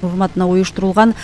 урматына уюштурулган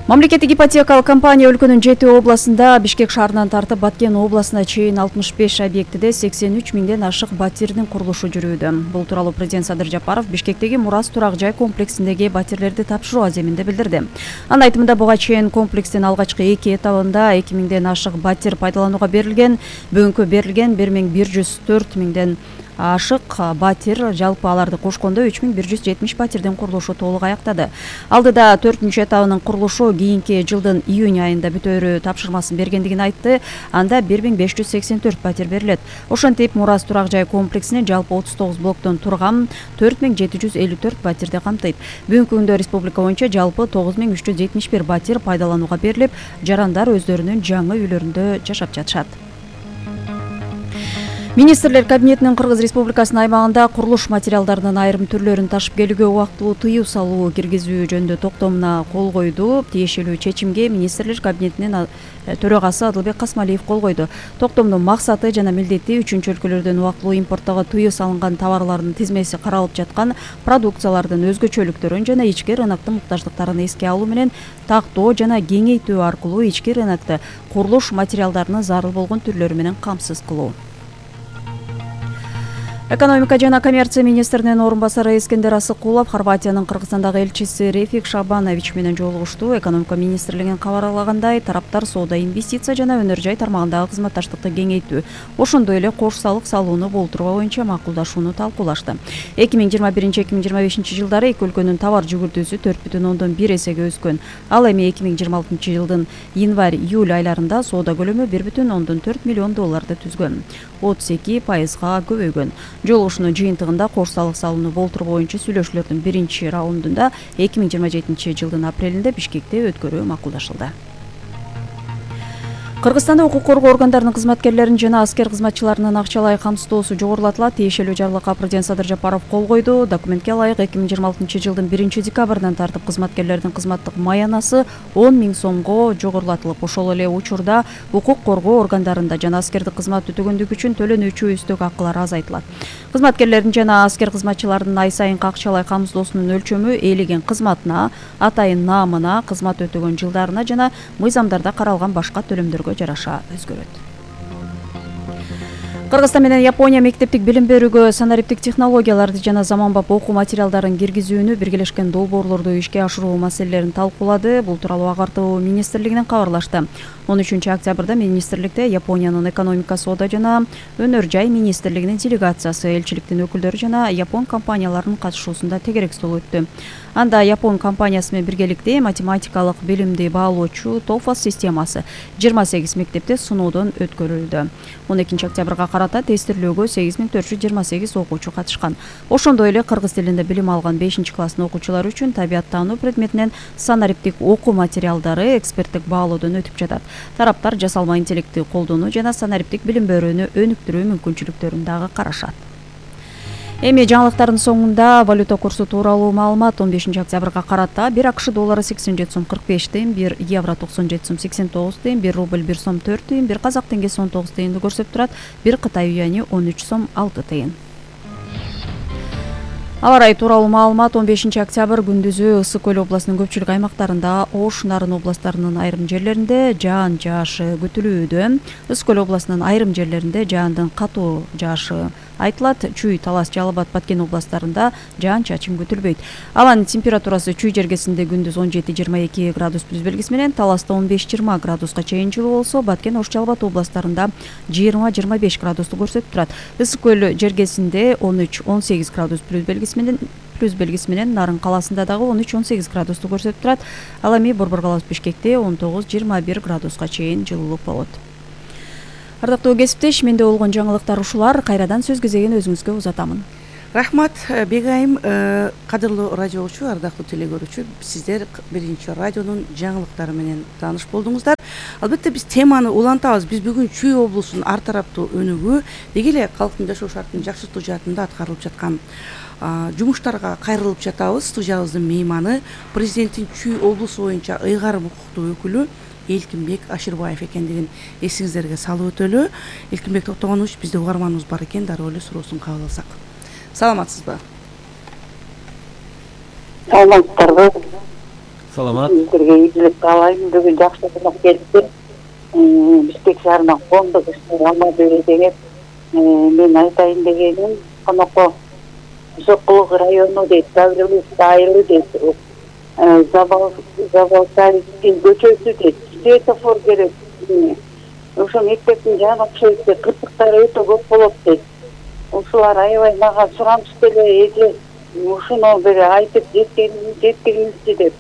мамлекеттик ипотекалык компания өлкөнүн 7 областында Бишкек шаарынан тартып Баткен областына чейин 65 объектиде 83 миңден ашык батирдин курулушу жүрүүдө. Бул тууралуу президент Садыр Жапаров Бишкектеги Мурас турак жай комплексиндеги батирлерди тапшыруу аземинде билдирди. Анын айтымында буга чейин комплекстин алгачкы 2 этабында 2 миңден ашык батир пайдаланууга берилген, бүгүнкү берилген 1104 миңден ашык батир, жалпы аларды кошкондо 3170 батирдин курулушу толук аяктады. Алдыда 4-чү этабынын курулушу кийинки жылдын июнь айында бүтөөрү тапшырмасын бергендигин айтты. Анда 1584 батир берилет. Ошентип Мурас турак жай комплексинин жалпы 39 блоктон турган 4754 батирди камтыйт. Бүгүнкү күндө республика боюнча жалпы 9371 батир пайдаланууга берилип, жарандар өздөрүнүн жаңы үйлөрүндө жашап жатышат. Министрлер кабинетинин Кыргыз Республикасынын аймагында курулуш материалдарынын айрым түрлөрүн ташып келүүгө убактылуу тыюу салуу киргизүү жөнүндө токтомуна кол койду. Тиешелүү чечимге Министрлер кабинетинин төрагасы Адылбек Касмалиев кол койду. Токтомдун максаты жана милдети 3-чү өлкөлөрдөн убактылуу импорттоого тыюу салынган товарлардын тизмеси каралып жаткан продукциялардын өзгөчөлүктөрүн жана ички рыноктун муктаждыктарын эске алуу менен тактоо жана кеңейтүү аркылуу ички рынокто курулуш материалдарынын зарыл болгон түрлөрү менен камсыз кылуу. Экономика жана коммерция министринин орун басары Эскендер Асыкулов Хорватиянын Кыргызстандагы элчиси Рефик Шабанович менен жолугушту. Экономика министрлигинин кабарлагандай, тараптар соода, инвестиция жана өнөр жай тармагындагы кызматташтыкты кеңейтүү, ошондой эле кош салык салууну болтуруу боюнча макулдашууну талкуулашты. 2021-2025 жылдары эки өлкөнүн товар жүгүртүүсү 4,1 эсеге өскөн. Ал эми 2026 жылдын январь-июль айларында соода көлөмү 1,4 миллион долларды түзгөн. 32%га көбөйгөн. Жолугушуунун жыйынтыгында кош салык салууну болтуруу боюнча сүйлөшүүлөрдүн биринчи раундунда 2027 жылдын апрелинде Бишкекте өткөрүү макулдашылды. Кыргызстанда укук коргоо органдарынын кызматкерлерин жана аскер кызматчыларынын акчалай камсыздоосу жогорулатылат. Тиешелүү жарлыкка президент Садыр Жапаров кол койду. Документке ылайык 2026 жылдын 1-декабрынан тартып кызматкерлердин кызматтык маянасы 10 000 сомго жогорулатылып, ошол эле учурда укук коргоо органдарында жана аскердик кызмат өтөгөндүгү үчүн төлөнүүчү үстөк акылар азайтылат. Кызматкерлердин жана аскер кызматчыларынын ай сайынкы акчалай камсыздоосунун өлчөмү ээлеген кызматына, атайын наамына, кызмат өтөгөн жылдарына жана мыйзамдарда каралган башка төлөмдөргө жараша өзгөрөт. Кыргызстан менен Япония мектептик билим берүүгө санариптик технологияларды жана заманбап окуу материалдарын киргизүүнү, биргелешкен долбоорлорду ишке ашыруу маселелерин талкуулады. Бул тууралуу Агартуу министрлигинен кабарлашты. 13 октябрда министрликте Япониянын экономика, соода жана өнөр жай министрлигинин делегациясы, элчиликтин өкүлдөрү жана япон компанияларынын катышуусунда тегерек стол өттү. Анда япон компаниясы менен биргеликте математикалык билимди баалоочу TOEFL системасы 28 мектепте сыноодон өткөрүлдү. 12 октябрга карата тестирлөөгө 8428 окуучу катышкан. Ошондой эле кыргыз тилинде билим алган 5-класстын окуучулары үчүн табияттануу предметинен санариптик окуу материалдары эксперттик баалоодон өтүп жатат. Тараптар жасалма интеллектти колдонуу жана санариптик билим берүүнү өнүктүрүү мүмкүнчүлүктөрүн дагы карашат. Эми жаңылыктардын соңунда валюта курсу тууралуу маалымат. 15 октябрга карата 1 акш доллары 87 сом 45 тыйын, 1 евро 97 сом 89 тыйын, 1 рубль 1 сом 4 тыйын, 1 казак теңгеси 19 тыйынды көрсөтүп турат, 1 Кытай юани 13 сом 6 тыйын. Аба ырайы тууралуу маалымат. 15 октябрь күндүзү Ысык көл областынын көпчүлүк аймактарында, Ош, Нарын областтарынын айрым жерлеринде жаан жаашы күтүлүүдө. Ысык көл областынын айрым жерлеринде жаандын катуу жаашы айтылат. Чүй, Талас, Жалал Абад, Баткен областтарында жаан-чачын күтүлбөйт. Абанын температурасы Чүй жергесинде күндүз 17-22 градус плюс белгиси менен, Таласта 15-20 градуска чейин жылуу болсо, Баткен, Ош, Жалал Абад областтарында 20-25 градусту көрсөтүп турат. Ысык көл жергесинде 13-18 градус плюс белгиси менен, Нарын каласында дагы 13-18 градусту көрсөтүп турат. Ал эми Борбор каласы Бишкекте 19-21 градуска чейин жылуулук болот. Ардактуу кесиптеш, менде болгон жаңылыктар ушулар. Кайрадан сөз кезегин өзүңүзгө узатамын. Рахмат Бегайым, кадырлуу радио угуучу, ардактуу телегөрүүчү, сиздер биринчи радионун жаңылыктары менен тааныш болдуңуздар. Албетте биз теманы улантабыз. Биз бүгүн Чүй облусунун ар тараптуу өнүгүү, деги эле калктын жашоо шартын жакшыртуу жаатында аткарылып жаткан жумуштарга кайрылып жатабыз. Студиябыздын мейманы президенттин Чүй облусу боюнча ыйгарым укуктуу өкүлү Элкинбек Аширбаев экендигин эсиңиздерге салып өтөлү. Элкинбек Токтогонович, бизде угарманыбыз бар экен, дароо эле суроосун кабыл алсак. Саламатсызбы? Саламатсыздарбы? Саламат. Сиздерге ийгилик каалайм. Бүгүн жакшы кунак келиптир. Бишкек шаарына коомдук иштер Алматы деген. Мен айтайын дегеним, конокко Жокулук району дейт, Гавриловский айылы дейт, Заболтайский көчөсү дейт, светофор керек. Ошо мектептин жаны окшойт дейт, кырсыктар өтө көп болот дейт. Ушулар аябай мага сурамышып эле, эже ушуну бир айтып жеткиңизчи деп.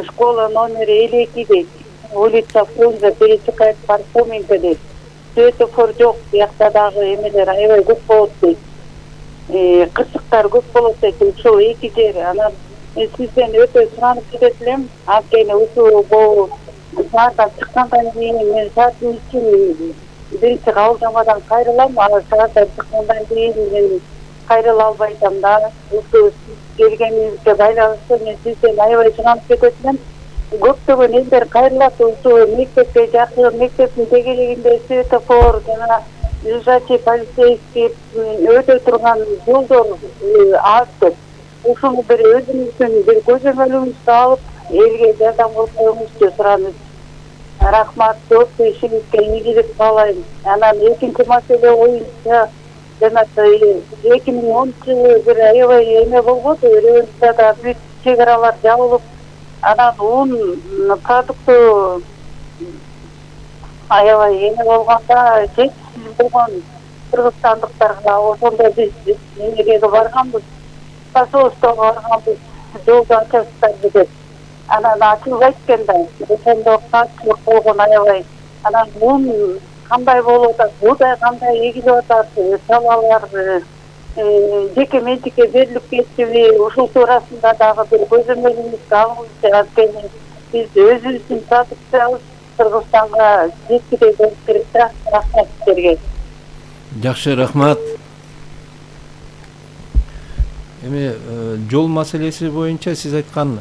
Школа номери 52 дейт, улица Фрунзе, пересекает Пархоменко дейт. Светофор жок, биякта дагы эмелер аябай көп болот дейт. Кырсыктар көп болот дейт, ушул эки жер. Анан сизден өтө суранып кетет элем. Анткени ушул сааттан чыккандан кийин мен сааттын үчүн биринчи кабылдамадан кайрылам, а сааттан чыккандан кийин мен кайрыла албай атам да. Ушул келгениңизге байланыштуу мен сизден аябай суранып кетет элем. Көптөгөн элдер кайрылат ушул мектепке жакын, мектептин тегерегинде светофор жана лежачий полицейский өтө турган жолдор аз деп. Ушуну бир өзүңүздүн бир көзөмөлүңүздү алып, элге жардам кылсаңызчы суранып. Рахмат, көп ишиңизге ийгилик каалайм. Анан экинчи маселе боюнча жана 2010-жылы бир аябай эме болгон, районда бүт чек-аралар жабылып, анан ун продукту аябай эме болгонда жетишсиз болгон кыргызстандыктарга ошондо биз эмеге барганбыз, посольствого барганбыз, жолду ачасыздарбы деп. Анан ачылбайт экен да, ошондо катчылык болгон аябай. Анан ун кандай болуп атат, буудай кандай эгилип атат, салалар жеке менчикке берилип кетиби, ушул туурасында дагы бир көзөмөлүңүздү алыңызчы. Анткени биз өзүбүздүн продукциябыз Кыргызстанга жеткире болуп керек да. Рахмат сиздерге. Жакшы, рахмат. Эми жол маселеси боюнча сиз айткан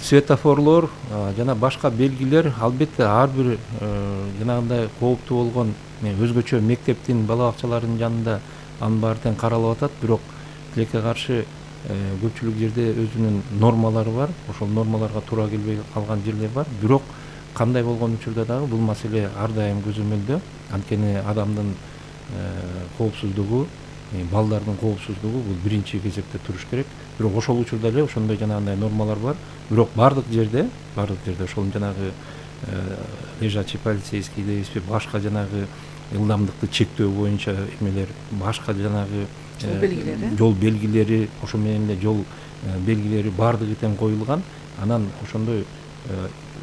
светофорлор жана башка белгилер албетте ар бир жанагындай кооптуу болгон өзгөчө мектептин бала бакчаларынын жанында анын баары тең каралып атат. Бирок тилекке каршы көпчүлүк жерде өзүнүн нормалары бар. Ошол нормаларга туура келбей калган жерлер бар. Бирок кандай болгон учурда дагы бул маселе ар дайым көзөмөлдө. Анткени адамдын коопсуздугу, балдардын коопсуздугу бул биринчи кезекте туруш керек. Бирок ошол учурда эле ошондой жанагындай нормалар бар. Бирок бардык жерде ошол жанагы лежачий полицейский дейбизби, башка жанагы ылдамдыкты чектөө боюнча эмелер, башка жанагы жол белгилери, ошо менен эле жол белгилери бардыгы тең коюлган. Анан ошондой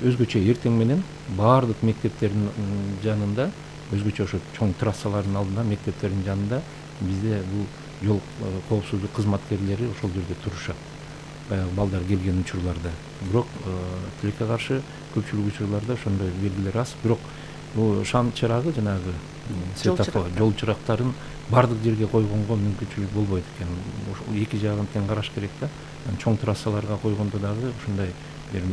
өзгөчө эртең менен бардык мектептердин жанында, өзгөчө ошо чоң трассалардын алдында, мектептердин жанында бизде бул жол коопсуздук кызматкерлери ошол жерде турушат. Баягы балдар келген учурларда. Бирок тилекке каршы көпчүлүк учурларда ошондой белгилер аз. Бирок бул шам чырагы жанагы светофор, жол чырактарын бардык жерге койгонго мүмкүнчүлүк болбойт экен. Ошол эки жагын тең караш керек да. Чоң трассаларга койгондо дагы ушундай бир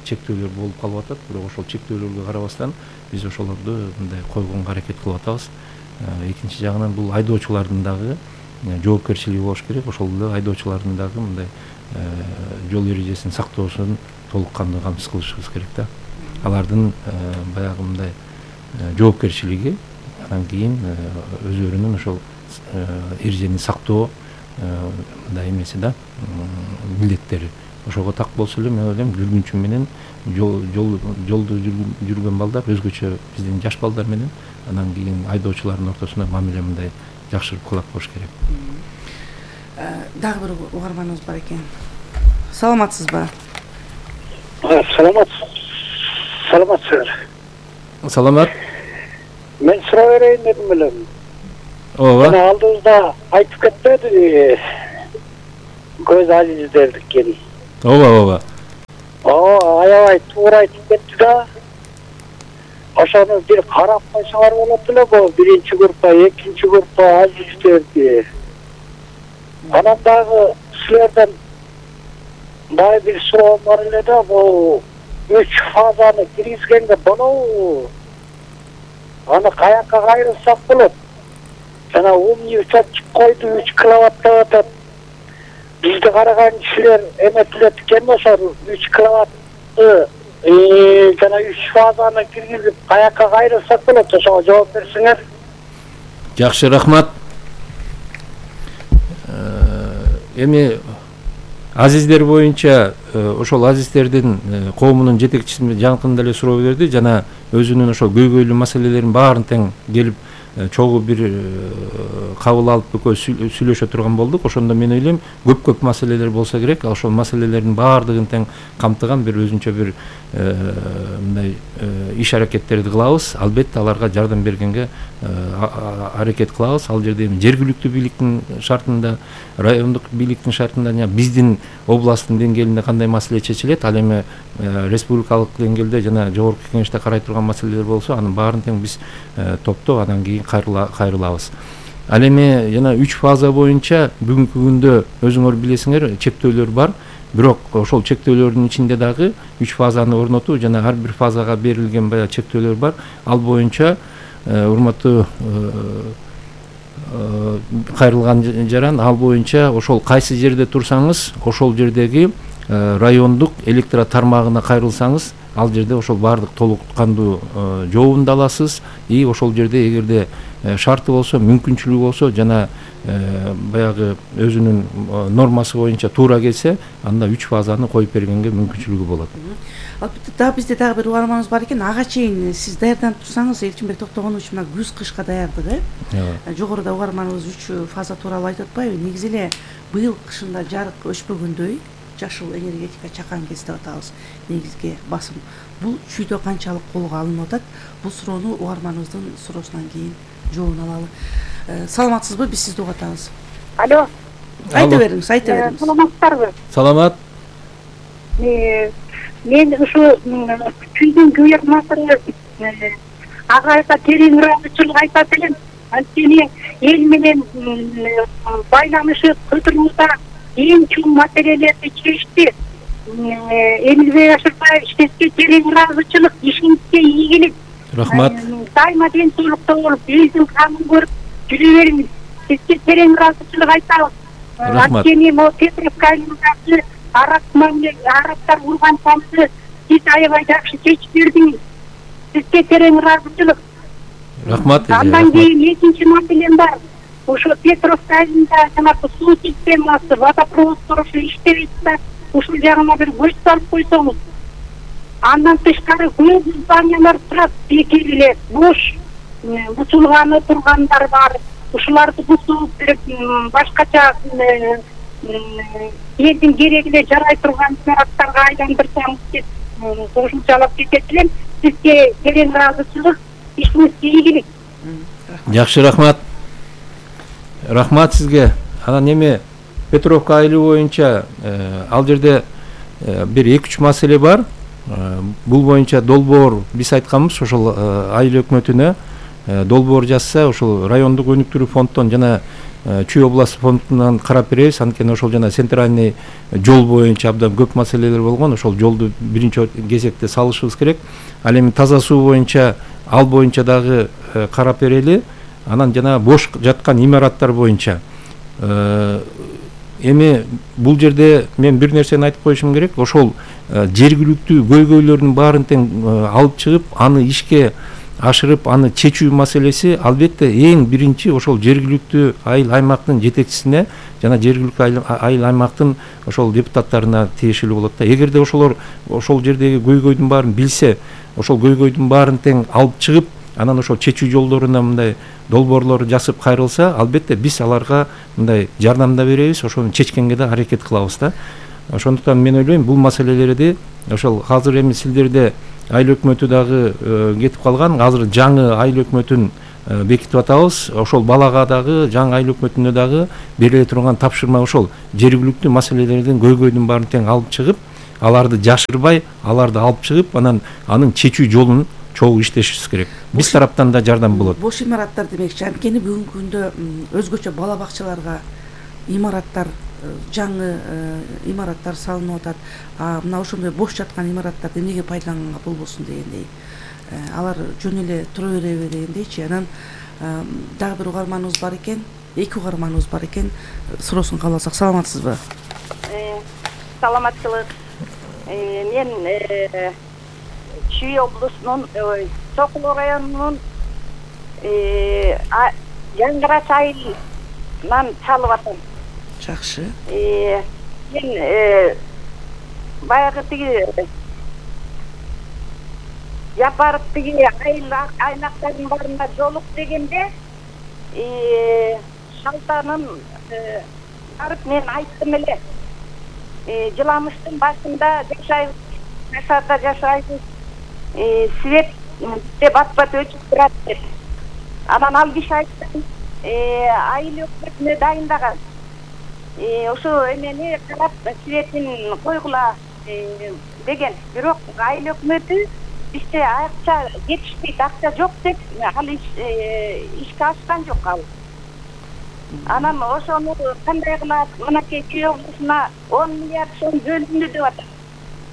чектөөлөр болуп калып атат. Бирок ошол чектөөлөргө карабастан биз ошолорду мындай койгонго аракет кылып атабыз. Экинчи жагынан бул айдоочулардын дагы жоопкерчилиги болуш керек. Ошол эле айдоочулардын дагы мындай жол эрежесин сактоосун толук кандуу камсыз кылышыбыз керек да. Алардын баягы мындай жоопкерчилиги, анан кийин өздөрүнүн ошол эрежени сактоо мындай эмеси да, милдеттери. Ошого так болсо эле мен ойлойм жүргүнчү менен жолду жүргөн балдар өзгөчө биздин жаш балдар менен, анан кийин айдоочулардын ортосунда мамиле мындай жакшырып кылат болуш керек. Дагы бир угарманыбыз бар экен. Саламатсызбы? Саламатсыздар. Саламат. Мен сурап берейин дедим элем. Ооба. Мына алдыбызда айтып кетпеди көз азиздердикин. Ооба. Аябай туура айтып кетти да. Ошону бир карап койсоңор болот эле, бул биринчи группа, экинчи группа азиздерди. Анан дагы силерден Мындай бир суроо бар эле да, бул 3 фазаны киргизгенде болобу? Аны каяка кайрылсак болот? Жана умный учетчик койду 3 киловатт деп атат. Бизди караган кишилер эметилет экен ошол 3 киловаттты жана 3 фазаны киргизип каяка кайрылсак болот? Ошого жооп берсеңер. Жакшы, рахмат. Эми азиздер боюнча ошол азиздердин коомунун жетекчиси жакында эле суроо берди жана өзүнүн ошол көйгөйлүү маселелерин баарын тең келип чогуу бир кабыл алып экөөбүз сүйлөшө турган болдук. Ошондо мен ойлойм көп маселелер болсо керек. Ал ошол маселелердин баардыгын тең камтыган бир өзүнчө бир мындай иш аракеттерди кылабыз. Албетте аларга жардам бергенге аракет кылабыз. Ал жерде жергиликтүү бийликтин шартында, райондук бийликтин шартында, жана биздин областтын деңгээлинде кандай маселе чечилет, ал эми республикалык деңгээлде жана жогорку кеңеште карай турган маселелер болсо, анын баарын тең биз топтоп андан кийин кайрылабыз. Ал эми жана 3 фаза боюнча бүгүнкү күндө өзүңөр билесиңер чектөөлөр бар. Бирок ошол чектөөлөрдүн ичинде дагы 3 фазаны орнотуу жана ар бир фазага берилген баягы чектөөлөр бар. Ал боюнча урматтуу кайрылган жаран, ал боюнча ошол кайсы жерде турсаңыз, ошол жердеги райондук электро тармагына кайрылсаңыз, ал жерде ошол баардык толук кандуу жообун аласыз. И ошол жерде эгерде шарты болсо, мүмкүнчүлүгү болсо жана баягы өзүнүн нормасы боюнча туура келсе, анда 3 фазаны коюп бергенге мүмкүнчүлүгү болот. Албетте дагы бизде дагы бир угарманыбыз бар экен. Ага чейин сиз даярданып турсаңыз, Элчинбек Токтогонович, мына күз кышка даярдык, жогоруда угарманыбыз 3 фаза тууралуу айтып атпайбы? Негизи эле быйыл кышында жарык өчпөгөндөй жашыл энергетика чакан кез деп атабыз. Негизги басым бул чүйдө канчалык колго алынып атат? Бул суроону угарманыбыздын суроосунан кийин жообун алалы. Саламатсызбы? Биз сизди угуп атабыз. Алло. Айта бериңиз, айта бериңиз. Саламатсыздарбы? Саламат. Мен ушу чүйдүн күйөрмасы ага терең ыраазычылык айтат элем. Анткени эл менен байланышы көтөрүүгө эң чоң маселелерди чечти. Эмилбей Ашырбаев иштеске терең ыраазычылык, ишиңизге ийгилик. Рахмат. Дайыма ден соолукта болуп, элдин камын көрүп жүрө бериңиз. Сизге терең ыраазычылык айтабыз. Рахмат. Анткени могу Петровка айылындагы арабтар урган тамды сиз аябай жакшы чечип бердиңиз. Сизге терең ыраазычылык. Рахмат. Андан кийин экинчи маселем бар. Ошо Петровка айылында жанагы суу системасы, водопровод курулушу иштебейт да, ушул жагына бир көз салып койсоңуз. Андан тышкары көп зданиялар турат, бекер эле бош, бутулганы тургандар бар. Ушуларды бутуп берип, башкача элдин керегине жарай турган имараттарга айландырсаңыз деп кошумчалап кетет элем. Сизге терең ыраазычылык, ишиңизге ийгилик. Жакшы, рахмат. Рахмат сизге. Анан эми Петровка айылы боюнча ал жерде бир 2-3 маселе бар. Бул боюнча долбоор биз айтканбыз, ошол айыл өкмөтүнө долбоор жазса, ошол райондук өнүктүрүү фонддон жана Чүй областы фондунан карап беребиз. Анткени ошол жана центральный жол боюнча абдан көп маселелер болгон. Ошол жолду биринчи кезекте салышыбыз керек. Ал эми таза суу боюнча, ал боюнча дагы карап берели. Анан жана бош жаткан имараттар боюнча эми бул жерде мен бир нерсени айтып коюшум керек. Ошол жергиликтүү көйгөйлөрдүн баарын тең алып чыгып, аны ишке ашырып, аны чечүү маселеси албетте эң биринчи ошол жергиликтүү айыл аймактын жетекчисине жана жергиликтүү айыл аймактын ошол депутаттарына тиешелүү болот да. Эгерде ошолор ошол жердеги көйгөйдүн баарын билсе, ошол көйгөйдүн баарын тең алып чыгып, анан ошол чечүү жолдоруна мындай долбоорлор жасып кайрылса, албетте биз аларга мындай жардам да беребиз, ошону чечкенге да аракет кылабыз да. Ошондуктан мен ойлойм, бул маселелерди ошол азыр эми силдерде айыл өкмөтү дагы кетип калган. Азыр жаңы айыл өкмөтүн бекитип атабыз. Ошол балага дагы, жаңы айыл өкмөтүнө дагы бериле турган тапшырма ошол жергиликтүү маселелердин көйгөйдүн баарын тең алып чыгып, аларды жашырбай, аларды алып чыгып, анын чечүү жолун чогуу иштешибиз керек. Биз тараптан да жардам болот. Бош имараттар демекчи, анткени бүгүнкү күндө өзгөчө бала бакчаларга имараттар жаңы имараттар салынып атат. Мына ошондой бош жаткан имараттарды эмнеге пайдаланганга болбосун дегендей. Алар жөн эле тура береби дегендейчи. Анан дагы бир угарманыбыз бар экен. Эки угарманыбыз бар экен. Суроосун кабыл алсак, саламатсызбы? Саламатчылык. Мен Чүй облусунун Сокулу районунун Жаңгырач айылынан чалып атам. Жакшы. Мен баягы тиги Жапаров тиги айыл айнактардын барына жолук дегенде шалтанын барып мен айттым эле. Жыламыштын башында жашайбыз, свет деп атпат өчүп турат деп. Анан ал киши айтты, айыл өкмөтүнө дайындаган. Ошо эмени карап светин койгула деген. Бирок айыл өкмөтү бизде акча жетишпейт, акча жок деп ал ишке ашкан жок ал. Анан ошону кандай кылат? Мынакей Чүй облусуна 10 миллиард сом бөлүндү деп атат.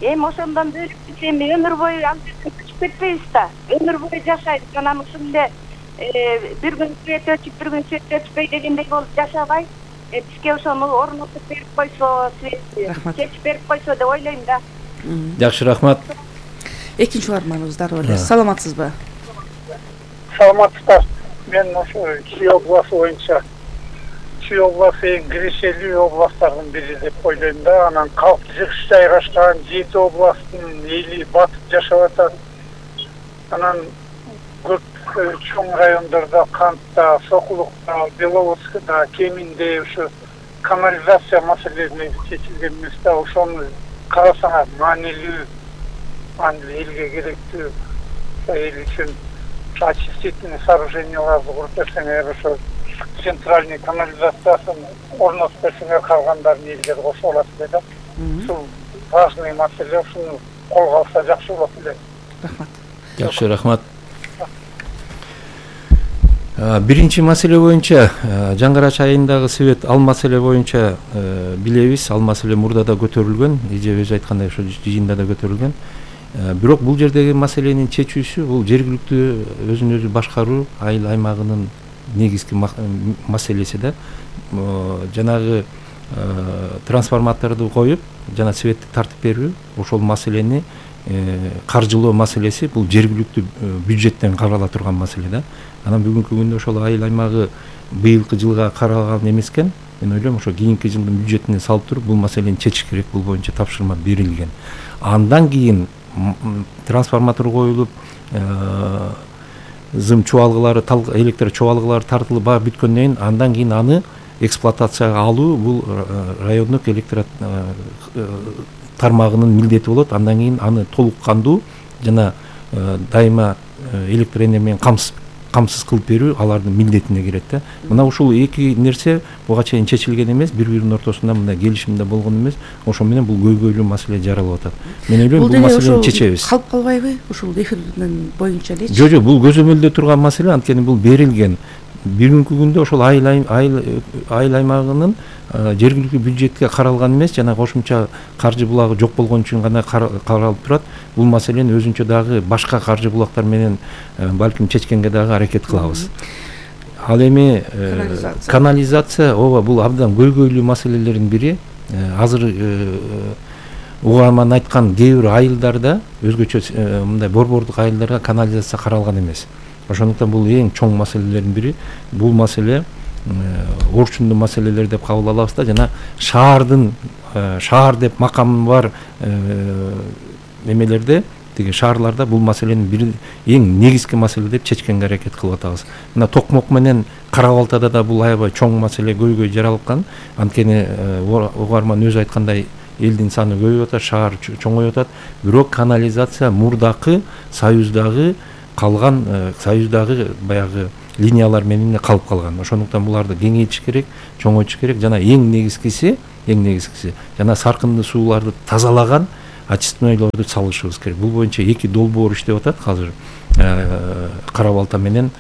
Эми ошондон бөлүп бизем өмүр бою ал жерден чыгып кетпейбиз да. Өмүр бою жашайбыз. Анан ушул эле бир күн свет өчүп, бир күн свет өчпөй дегендей болуп жашабай, бизге ошону орнотуп берип койсо, светти чечип берип койсо деп ойлойм да. Жакшы, рахмат. Экинчи угарманыбыз дагы бар. Саламатсызбы? Саламатсыздар. Мен ошо Чүй обласу боюнча Чүй обласу эң кирешелүү областтардын бири деп ойлойм да. Анан калк жыгыш жайгашкан 7 областтын эли батып жашап атат. Анан көп чоң райондордо, Кантта, Сокулукта, Беловодскда кеминде ушу канализация маселелери чечилген эмес да. Ошону карасаңар маанилүү, элге керектүү, эл үчүн очистительный сооруженияларды куруп берсеңер, ошо центральный канализациясын орнотуп берсеңер, калгандарын элге кошо алат эле да. Ушул важный маселе, ушуну колго алса жакшы болот эле. Рахмат. Жакшы, рахмат. Биринчи маселе боюнча, Жаңгырач айылындагы свет, ал маселе боюнча билебиз, ал маселе мурда да көтөрүлгөн, эже өзү айткандай ошо жыйында да көтөрүлгөн. Бирок бул жердеги маселенин чечүүсү бул жергиликтүү өзүн өзү башкаруу айыл аймагынын негизги маселеси да. Жанагы трансформаторду коюп, жана светти тартып берүү, ошол маселени каржылоо маселеси бул жергиликтүү бюджеттен карала турган маселе да. Анан бүгүнкү күндө ошол айыл аймагы быйылкы жылга каралган эмес экен. Мен ойлойм, ошо кийинки жылдын бюджетине салып туруп бул маселени чечиш керек, бул боюнча тапшырма берилген. Андан кийин трансформатор коюлуп, зым чубалгылары, электр чубалгылары тартылып баары бүткөндөн кийин, андан кийин аны эксплуатацияга алуу бул райондук электр тармагынын милдети болот. Андан кийин аны толук кандуу жана дайыма электр энергия менен камсыз кылып берүү алардын милдетине кирет да. Мына ушул эки нерсе буга чейин чечилген эмес, бири-биринин ортосунда мындай келишимде болгон эмес. Ошо менен бул көйгөйлүү маселе жаралып атат. Мен ойлойм, бул маселени чечебиз. Калып калбайбы ушул эфирдин боюнча элечи? Жок, бул көзөмөлдө турган маселе, анткени бул берилген. Бүгүнкү күндө ошол айыл аймагынын жергиликтүү бюджетке каралган эмес, жана кошумча каржы булагы жок болгон үчүн гана каралып турат. Бул маселени өзүнчө дагы башка каржы булактар менен балким чечкенге дагы аракет кылабыз. Ал эми канализация, ооба, бул абдан көйгөйлүү маселелердин бири. Азыр угарман айткан кээ бир айылдарда, өзгөчө мындай борбордук айылдарга канализация каралган эмес. Ошондуктан бул эң чоң маселелердин бири. Бул маселе орчундуу маселелер деп кабыл алабыз да, жана шаар деп макамы бар эмелерде, тиги шаарларда бул маселенин бири эң негизги маселе деп чечкенге аракет кылып атабыз. Мына Токмок менен Кара-Балтада да бул аябай чоң маселе, көйгөй жаралган. Анткени угарман өзү айткандай элдин саны көбөйүп атат, шаар чоңоюп атат. Бирок канализация мурдакы Союздагы калган, Союздагы баягы линиялар менен калып калган. Ошондуктан буларды кеңейтиш керек, чоңойтуш керек, жана эң негизгиси жана саркынды сууларды тазалаган очистнойлорду салышыбыз керек. Бул боюнча 2 долбоор иштеп атат азыр Кара Балта менен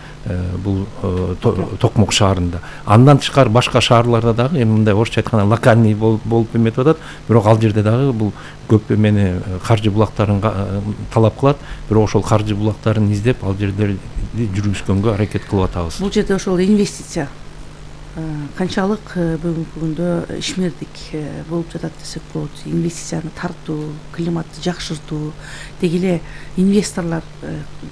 бул Токмок шаарында. Андан тышкары башка шаарларда дагы эми мындай орусча айтканда локальный болуп эметип атат. Бирок ал жерде дагы бул көп эмени каржы булактарын талап кылат. Бирок ошол каржы булактарын издеп ал жерлерди жүргүзгөнгө аракет кылып атабыз. Бул жерде ошол инвестиция канчалык бүгүнкү күндө ишмердик болуп жатат десек болот. Инвестицияны тартуу, климатты жакшыртуу, деги эле инвесторлор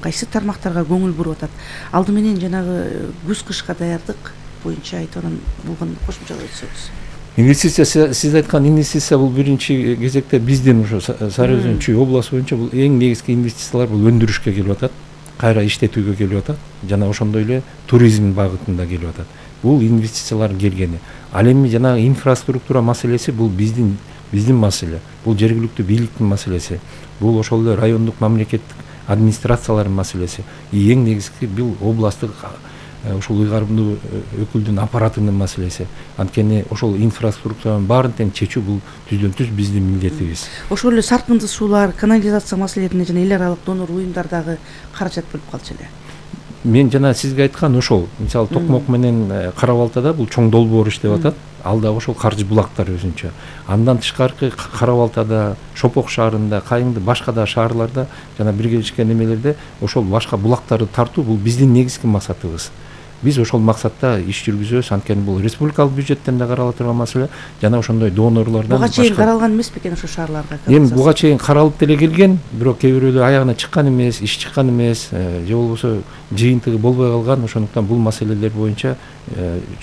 кайсы тармактарга көңүл буруп атат. Алды менен жанагы күз-кышка даярдык боюнча айтып анан булган кошумчалап өтсөңүз. Инвестиция, сиз айткан инвестиция бул биринчи кезекте биздин ошо Сары Өзөн Чүй областы боюнча бул эң негизги инвестициялар бул өндүрүшкө келип атат, кайра иштетүүгө келип атат, жана ошондой эле туризм багытында келип атат. Бул инвестициялар келгени. Ал эми жанагы инфраструктура маселеси бул биздин маселе. Бул жергиликтүү бийликтин маселеси. Бул ошол эле райондук мамлекеттик администрациялардын маселеси. Эң негизги бул областтык ошол ыйгарымдуу өкүлдүн аппаратынын маселеси. Анткени ошол инфраструктуранын баарын тең чечүү бул түздөн-түз биздин милдетибиз. Ошол эле саркынды суулар, канализация маселелерине жана эл аралык донор уюмдардагы каражат бөлүп калчу эле. Мен жана сизге айткан ошол, мисалы Токмок менен Кара Балтада бул чоң долбоор иштеп атат. Ал дагы ошол каржы булактар өзүнчө. Андан тышкары Кара Балтада, Шопок шаарында, Кайыңды башка да шаарларда жана биргелешкен эмелерде ошол башка булактарды тартуу бул биздин негизги максатыбыз. Биз ошол максатта иш жүргүзөбүз, анткени бул республикалык бюджеттен да карала турган маселе, жана ошондой донорлордон буга чейин каралган эмес бекен ошол шаарларга? Эми буга чейин каралып деле келген, бирок кээ бирөөлөр аягына чыккан эмес, иш чыккан эмес, же болбосо жыйынтыгы болбой калган. Ошондуктан бул маселелер боюнча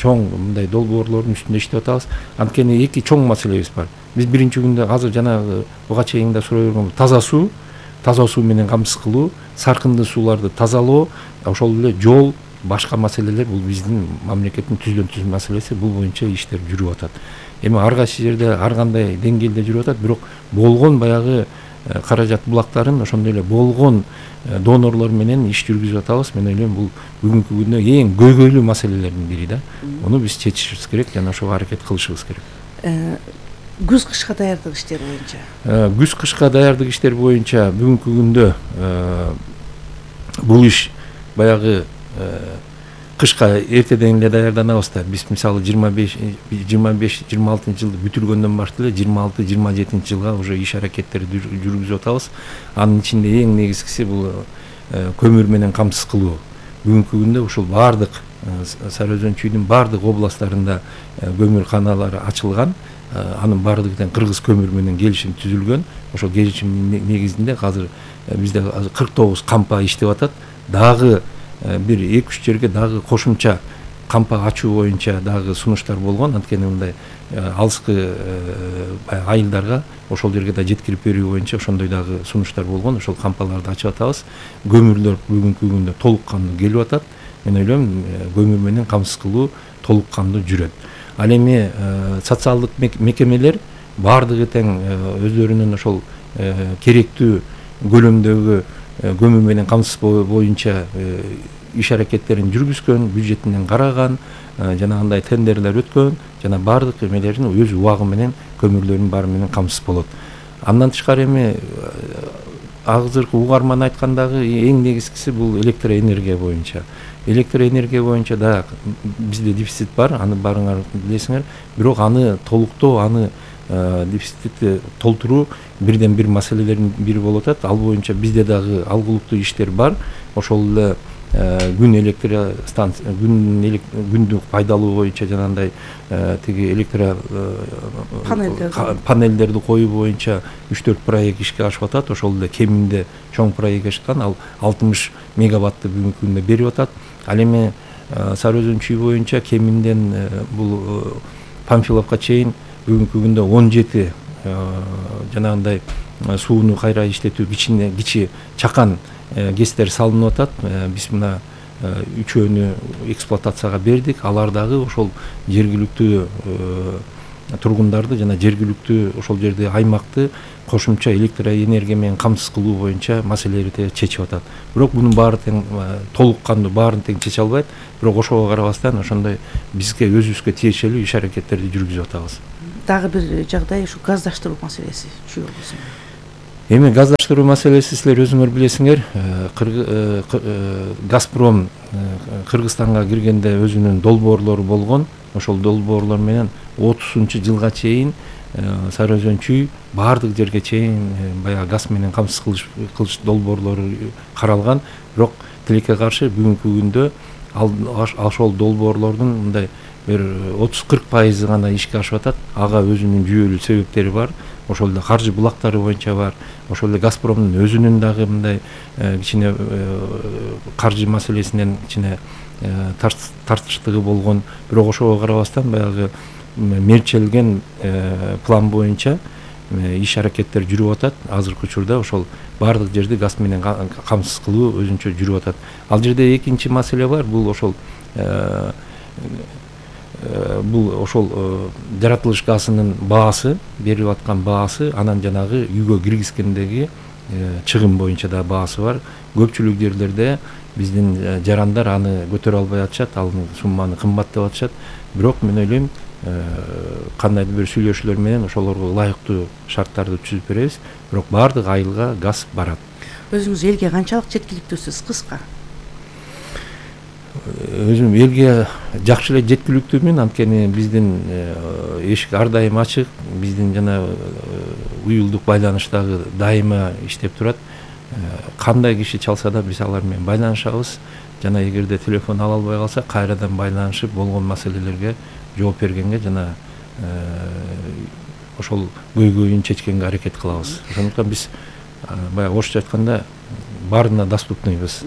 чоң мындай долбоорлордун үстүндө иштеп атабыз. Анткени эки чоң маселебиз бар. Биз биринчи күндө азыр жанагы буга чейин да суроо бергөн таза суу менен камсыз кылуу, саркынды сууларды тазалоо, ошол эле жол, башка маселелер бул биздин мамлекеттин түздөн-түз маселеси. Бул боюнча иштер жүрүп атат. Эми ар кайсы жерде ар кандай деңгээлде жүрүп атат, бирок болгон баягы каражат булактарын ошондой эле болгон донорлор менен иш жүргүзүп атабыз. Мен ойлойм бул бүгүнкү күндө эң көйгөйлүү маселелердин бири да. Муну биз чечишибиз керек жана ошого аракет кылышыбыз керек. Күз-кышка даярдык иштери боюнча. Күз-кышка даярдык иштери боюнча бүгүнкү күндө бул иш баягы кышка эртеден эле даярданабыз да. Биз мисалы 25-26 жылды бүтүргөндөн баштап эле 26-27 жылга уже иш аракеттерди жүргүзүп атабыз. Анын ичинде эң негизгиси бул көмүр менен камсыз кылуу. Бүгүнкү күндө ушул бардык Сары Өзөн Чүйдүн бардык областтарында көмүр каналары ачылган. Анын бардыгы тең кыргыз көмүр менен келишим түзүлгөн. Ошол келишимдин негизинде азыр бизде 49 кампа иштеп атат. Дагы бир 2-3 жерге дагы кошумча кампа ачуу боюнча дагы сунуштар болгон. Анткени мындай алыскы айылдарга ошол жерге да жеткирип берүү боюнча ошондой дагы сунуштар болгон. Ошол кампаларды ачып атабыз. Көмүрлөр бүгүнкү күндө толук кандуу келип атат. Мен ойлойм көмүр менен камсыз кылуу толук кандуу жүрөт. Ал эми социалдык мекемелер бардыгы тең өздөрүнүн ошол керектүү көлөмдөгү көмүр менен камсыз боюнча иш аракеттерин жүргүзгөн, бюджетинен караган, жанагындай тендерлер өткөн, жана бардык эмелерин өз убагы менен көмүрлөрдүн баары менен камсыз болот. Андан тышкары эми азыркы угарман айткандагы эң негизгиси бул электроэнергия боюнча. Электроэнергия боюнча да бизде дефицит бар, аны баарыңар билесиңер. Бирок аны толуктоо, аны дефицитти толтуруу бирден бир маселелердин бири болуп атат. Ал боюнча бизде дагы алгылыктуу иштер бар. Ошол эле күн электростанция, күндү пайдалуу боюнча жанагындай тиги панелдерди коюу боюнча 3-4 проект ишке ашып атат. Ошол эле кеминде чоң проект ашкан, ал 60 мегаватты бүгүнкү күндө берип атат. Ал эми Сары Өзөн Чүй боюнча кеминден бул Памфиловка чейин бүгүнкү күндө 17 жанагындай сууну кайра иштетүү кичи чакан ГЭСтер салынып атат. Биз мына үчөөнү эксплуатацияга бердик. Алар дагы ошол жергиликтүү тургундарды жана жергиликтүү ошол жерде аймакты кошумча электроэнергия менен камсыз кылуу боюнча маселелерди чечип атат. Бирок мунун баары тең толук кандуу баарын тең чече албайт. Бирок ошого карабастан ошондой бизге өзүбүзгө тиешелүү иш аракеттерди жүргүзүп атабыз. Дагы бир жагдай ушу газдаштыруу маселеси Чүй облусунда. Эми газдаштыруу маселеси силер өзүңөр билесиңер, Газпром Кыргызстанга киргенде өзүнүн долбоорлору болгон. Ошол долбоорлор менен 30-жылга чейин Сары Өзөн чүй баардык жерге чейин баягы газ менен камсыз кылыш долбоорлору каралган. Бирок тилекке каршы бүгүнкү күндө ошол долбоорлордун мындай бир 30-40% гана ишке ашып атат. Ага өзүнүн жүйөлүү себептери бар. Ошол эле каржы булактары боюнча бар. Ошол эле Газпромдун өзүнүн дагы мындай кичине каржы маселесинен кичине тартыштыгы болгон. Бирок ошого карабастан баягы мерчелген план боюнча иш аракеттер жүрүп атат. Азыркы учурда ошол баардык жерди газ менен камсыз кылуу өзүнчө жүрүп атат. Ал жерде экинчи маселе бар. Бул ошол жаратылыш газынын баасы, берилип аткан баасы, анан жанагы үйгө киргизгендеги чыгым боюнча да баасы бар. Көпчүлүк жерлерде биздин жарандар аны көтөрө албай атышат, ал сумманы кымбат деп атышат. Бирок мен ойлойм, кандайдыр бир сүйлөшүүлөр менен ошолорго ылайыктуу шарттарды түзүп беребиз. Бирок баардык айылга газ барат. Өзүңүз элге канчалык жеткиликтүүсүз? Кыска. Өзүм элге жакшы эле жеткиликтүүмүн, анткени биздин эшик ар дайым ачык, биздин жана уюлдук байланыш дагы дайыма иштеп турат. Кандай киши чалса да биз алар менен байланышабыз. Жана эгерде телефон ала албай калса, кайрадан байланышып болгон маселелерге жооп бергенге жана ошол көйгөйүн чечкенге аракет кылабыз. Ошондуктан биз баягы орусча айтканда баарына доступныйбыз.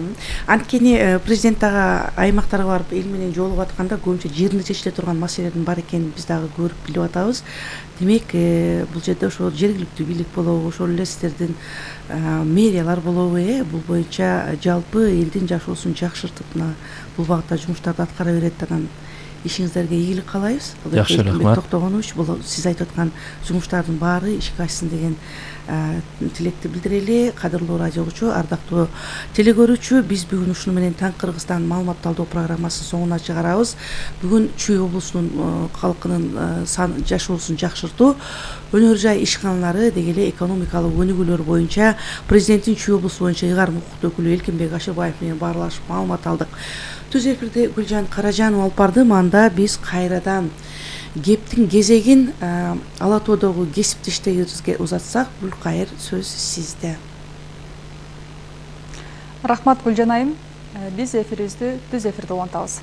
Анткени президент дагы аймактарга барып эл менен жолугуп атканда көбүнчө жеринде чечиле турган маселелердин бар экенин биз дагы көрүп билип атабыз. Демек, бул жерде ошол жергиликтүү бийлик болобу, ошол эле сиздердин мэриялар болобу, бул боюнча жалпы элдин жашоосун жакшыртып бул багытта жумуштарды аткара берет. Анан ишиңиздерге ийгилик каалайбыз. Жакшы, рахмат. Токтогонович, бул сиз айтып аткан жумуштардын баары ишке ашсын деген тилекти билдирели. Кадырлуу радио угуучу, ардактуу телекөрүүчү, биз бүгүн ушуну менен Таң Кыргызстан маалымат талдоо программасын соңуна чыгарабыз. Бүгүн Чүй облусунун калкынын жашоосун жакшыртуу, өнөр жай ишканалары деги эле экономикалык өнүгүүлөр боюнча президенттин Чүй облусу боюнча ыйгарым укуктуу өкүлү Элкенбек Ашырбаев менен баарлашып маалымат алдык. Түз эфирде Гүлжан Каражанова алып барды. Манда биз кайрадан кептин кезегин Ала Тоодогу кесиптештерибизге узатсак, Гүлкайыр, сөз сизде. Рахмат Гүлжан айым. Биз эфирибизди түз эфирде улантабыз.